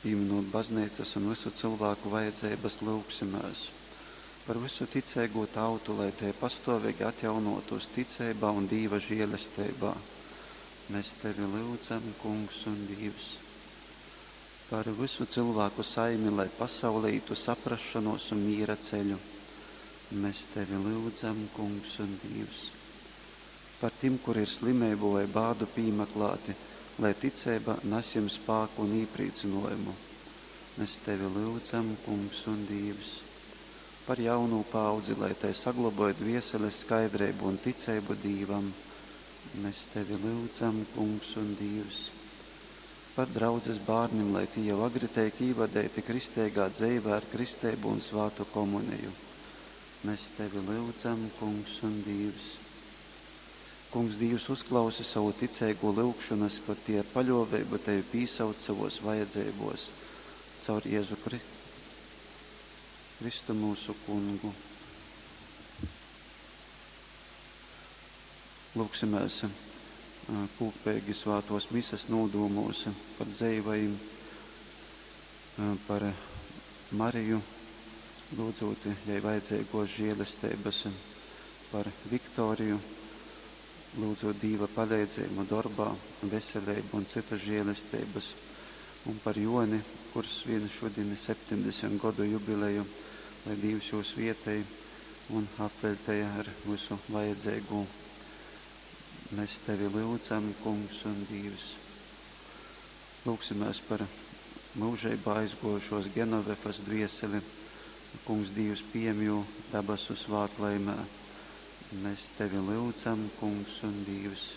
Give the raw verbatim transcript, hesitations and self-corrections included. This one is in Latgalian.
Pīminūt bazneicas un vysu cylvāku vajadzeibas, lyugsimēs par vysu ticeigū tautu, lai tei pastōveigi atjaunōtūs ticeibā un Dīva žēlesteibā. Mēs Tevi lyudzam, Kungs un Dīvs. Par vysu cylvāku saimi, lai pasaule ītu saprasšonōs un mīra ceļu. Mēs Tevi lyudzam, Kungs un Dīvs. Par tim, kuri ir slimeibu vai bādu pīmaklāti, lai ticeiba nas jim spāku un īprīcynōjumu. Mēs Tevi lyudzam, Kungs un Dīvs. Par jaunū paaudzi, lai tai sagloboj dvieseles skaidreibu un ticeibu Dīvam. Mēs Tevi lyudzam, Kungs un Dīvs. Par draudzes bārnim, lai tī jau agri teik īvadeiti kristeigā dzeivē ar kristeibu un svātu komuniju. Mēs Tevi lyudzam, Kungs un Dīvs. Kungs Dīvs, uzklausi savu ticeigū lyugšonas, kod tie ar paļōveibu Tevi pīsauc savōs vajadzeibōs. Caur Jēzu Kri Kristu mūsu Kungu. Lūgsimēs kūpeigi svātōs mises nūdūmūs par dzeivajim, par Mariju, lūdzūt jai vajadzeigōs žēlesteibas, par Viktoriju, lūdzūt Dīva paleidzējumu dorbā, veseleibu un cytas žēlesteibas, un par Joni, kurs svin šodien septiņdesmit godu jubileju, lai Dīvs jū svietej un apveļtej ar visu vajadzeigū. Mēs Tevi lyudzam, Kungs un Dīvs. Lūgsimēs par mūžeibā aizguojušos Genovefas dvieseli. Kungs Dīvs pieņem jū dabasu svātlaimē. Mēs Tevi lyudzam, Kungs un Dīvs.